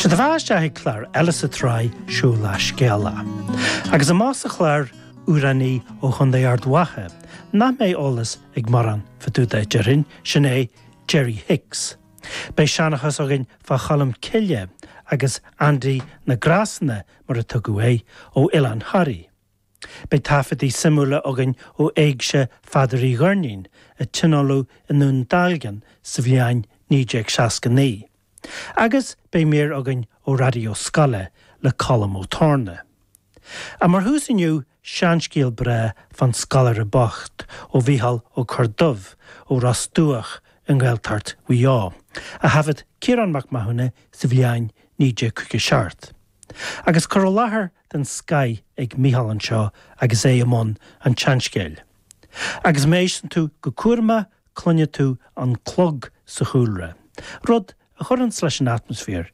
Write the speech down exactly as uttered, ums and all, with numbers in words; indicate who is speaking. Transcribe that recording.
Speaker 1: Sé do bheatha isteach ag clár eile sa tsraith Seo Lá Scéala. Agus amach sa chlár amhránaí ó Chontae Ard Mhacha, nach mbeidh eolas ag mórán fá dtaobh de déarfainn, sin é Jerry Hicks. Beidh seanchas againn fá Cholm Cille agus Andy na Grásanna mar a tugadh é ó Oileán Thoraí. Beidh taifeadtaí suimiúla againn ó Éigse Pheadair Uí Dhoirnín a tionóladh i nDún Dealgan sa bhliain naoi déag seasca naoi. Agus beidh mír againn ó raidió scoile le Colm Ó Torna. A mar thús inniu seanscéal breá fán scoláire bocht ó Mhícheál Ó Corrdubh ó Ros Dumhach i nGaeltacht Mhaigh Eo, a thaifead Ciarán Mac Mathúna sa bhliain naoi déag caoga seacht. Agus cur i láthair den scoth ag Mícheál anseo agus é i mbun an tseanscéil. Agus má éisteann tú go cúramach cluinfidh tú an clog sa chúlra, rud a chuireann leis an atmaisféar